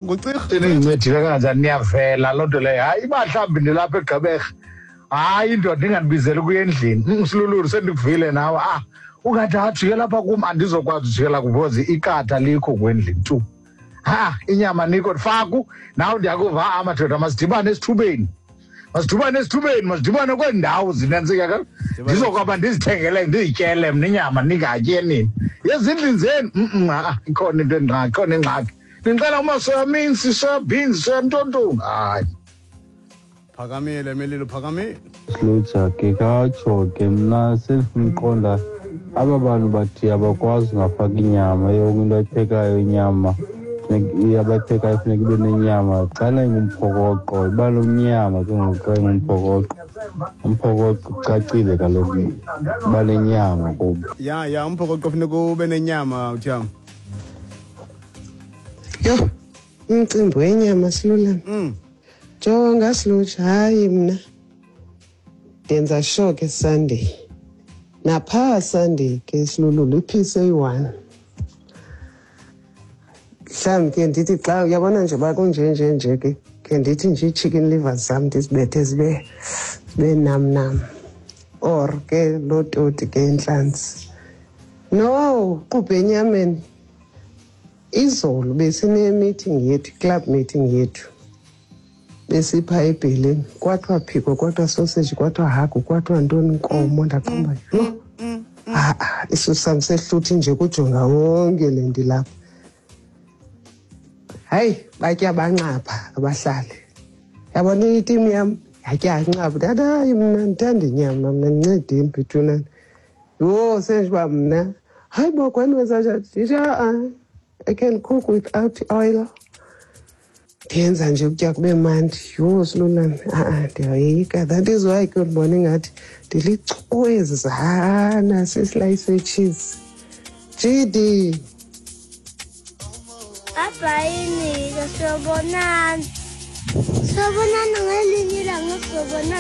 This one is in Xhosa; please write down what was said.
Ngucirha. Nindincedile kanjani niyavela loo nto leyo. Hayi, uba mhlawumbi ndilapha eGqeberha, hayi indoda ingandibizeli kuya endlini. Silululu sendikuvile nawe. Ah, ungathi ajikela apha kum, andizokwazi ujikela because iqatha likho kwendlini tu. Ha, inyama nikho faku nawe ndiyakuva. Ah, madoda, masidibane esithubeni, masidibane esithubeni, masidibane kweendawo zinantsika ka ndizokwaba ndizithengele ndizityele mna inyama, ningatye nini ezindlini zenu. Ha, ikhona into engxaki, ikhona ingxaki. Ndicela uma-soya mince, soya beans, soya ntontoni, hayi. Phakamile Melilo, phakamile. Slutsha ke katsho ke, mna sendifuna uqonda aba bantu bathi abakwazi ungafaki inyama. Yonke into ayiphekayo inyama abayiphekayo funeka ibe nenyama. Xana ingumphokoqo iba nomnyama ke ngoku. Xa ingumphokoqo, umphokoqo ucacile kaloku, iba nenyama kubo. Ya, umphokoqo funeka ube nenyama, uthiyam. Yho, umcimbi wenyama, Silulana. Jonga Silutsha, hayi mna ndenza sure ke Sunday, naphaa Sunday ke Silululu, i-piece eyi-one mhlawumbi ke. Ndithi xa uyabona nje uba kunjenje nje ke, ke ndithi nje ii-chicken livers zam ndizibethe zibe nam nam, or ke loo toti ke intlanzi no qubhe enyameni. Izolo besine-meeting yethu, club meeting yethu, besipha ebheleni, kwathiwa phiko, kwathiwa sausage, kwathiwa hagu, kwathiwa ntoni, nkomo. Ndaqomba yho, ha-a, isisu sam sehluthi nje kujonga wonke le nto ilapha. Hayi, batya banxapha abahlali, yabona itimu yam yatya nxapha. Ndathi hayi, mna ndithanda inyama, mna ndincedeni bethunana. Yho, senje uba mna, hayi bo, kwani wenza njani? Ndithi a-a, I can cook without oil, ndiyenza nje ukutya kube mandi. Yho Silulane, a-a, ndiyayoyika. That is why ke ndibona ingathi ndilicwezana sisilayi se-cheese GD. Bye-bye, Nika. Sobonana. Sobonana ngelinye ilanga, sobonana.